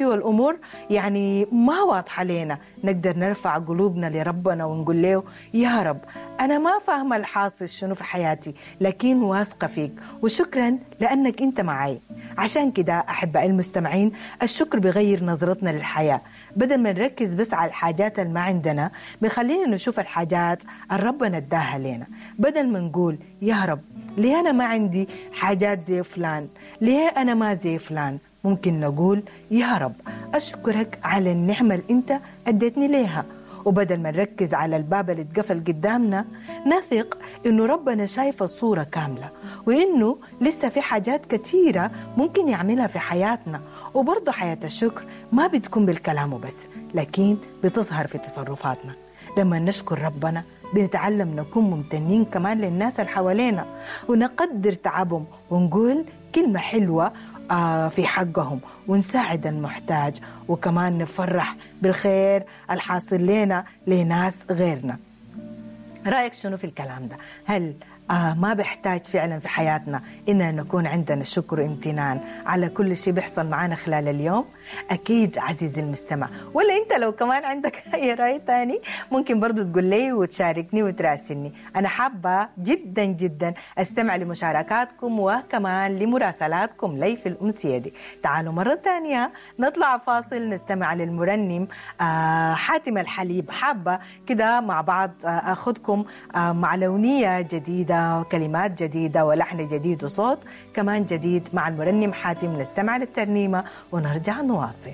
فيه الأمور يعني ما واضحة لنا، نقدر نرفع قلوبنا لربنا ونقول له يا رب أنا ما فاهمة الحاصل شنو في حياتي، لكن واثقة فيك وشكرا لأنك أنت معي. عشان كده أحبائي المستمعين، الشكر بغير نظرتنا للحياة. بدل ما نركز بس على الحاجات اللي ما عندنا، بخلينا نشوف الحاجات اللي ربنا اداها لنا. بدل ما نقول يا رب ليه أنا ما عندي حاجات زي فلان، ليه أنا ما زي فلان، ممكن نقول يا رب أشكرك على النعمة اللي أنت أديتني ليها. وبدل ما نركز على الباب اللي اتقفل قدامنا، نثق إنه ربنا شايف الصورة كاملة، وإنه لسه في حاجات كثيرة ممكن يعملها في حياتنا. وبرضه حياة الشكر ما بتكون بالكلام وبس، لكن بتظهر في تصرفاتنا. لما نشكر ربنا بنتعلم نكون ممتنين كمان للناس اللي حوالينا، ونقدر تعبهم، ونقول كلمة حلوة في حقهم، ونساعد المحتاج، وكمان نفرح بالخير الحاصل لنا لناس غيرنا. رأيك شنو في الكلام ده؟ هل ما بيحتاج فعلا في حياتنا إننا نكون عندنا شكر وامتنان على كل شيء بيحصل معنا خلال اليوم؟ أكيد عزيزي المستمع. ولا أنت لو كمان عندك أي رأي تاني ممكن برضو تقول لي وتشاركني وتراسلني. أنا حابة جدا جدا أستمع لمشاركاتكم وكمان لمراسلاتكم لي في الأمسية دي. تعالوا مرة تانية نطلع فاصل نستمع للمرنم حاتم الحليب. حابة كده مع بعض أخذكم مع لونية جديدة، كلمات جديدة ولحن جديد وصوت كمان جديد مع المرنم حاتم. نستمع للترنيمة ونرجع نواصل.